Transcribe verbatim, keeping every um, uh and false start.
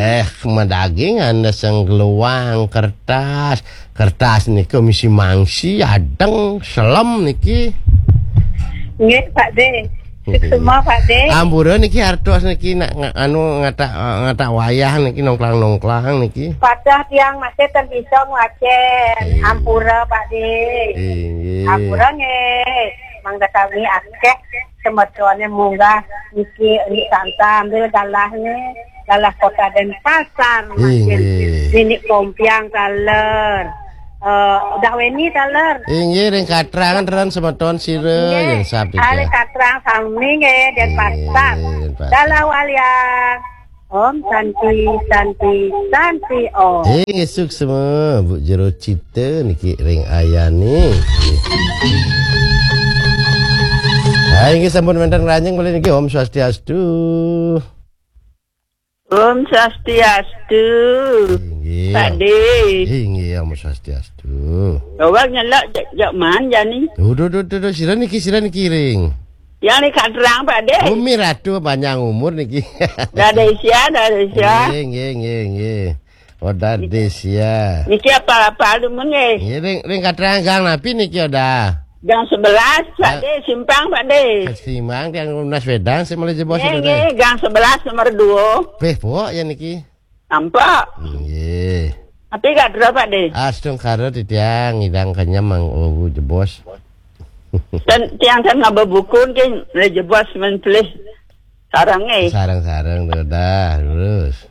Eh, madaging anda senggeluang kertas. Kertas niki misi mangsi, adeng, selem niki. Nggih, Pak De. Nggih. Semua, Pak De. Ampura niki artos niki nak nga- anu ngatak ngatak wayah niki nongklang-nongklang niki. Padah tiang masih ten bisa ngwacen. Nggih. Ampura, Pak De. Nggih. Ampura nggih. Mangda kami akeh semetone munggah niki ri Santa ambil galahnya. Galah Kota Denpasar, Nggih, makin nggih. Nini Kompiang taler. Eh, udah weni taler. Inggih ring katrangan ran semeton sira Nggih. Yang sapi Ale ya. Katrang sami nggih Denpasar. Nggih, Denpasar. Dalah walian. Om Santi, Santi, Santi Om. Inggih suksma Bu Jero Cipta niki ring ayane. Nggih. Ha inggih sampun wenten ngranjing malih niki Om Swastiastu. Om Swastiastu. Inggih. Pak De. Inggih, Om Swastiastu. Awak nyelak jak jak man jani. Duh, duh, duh, duh, duh, sira niki, sira niki ring. Yang ni katrang, Pak De. Umi Ratu panjang umur niki. Dah ada isia, dah ada isia. Nggih, nggih, nggih, nggih. Oh, dah ada isia. Niki apa-apa lu mengeh. Nggih, ring ring katrang gang napi niki, Odah? Gang sebelas, Pak Ah. De, simpang, Pak De. Simpang tiang lunas wedang sing mulai jebos Nggih, itu, nggih, Deh. Gang sebelas nomor dua. Beh, pok ya niki. Nampak. Nggih. Tapi gak ada, Pak De. Astungkara titiang ngidang kenyam mang oh, jebos. Dan tiang kan ngaba buku nggih, mulai jebos men pelih sarang eh. Sarang-sarang tuh dah, lurus.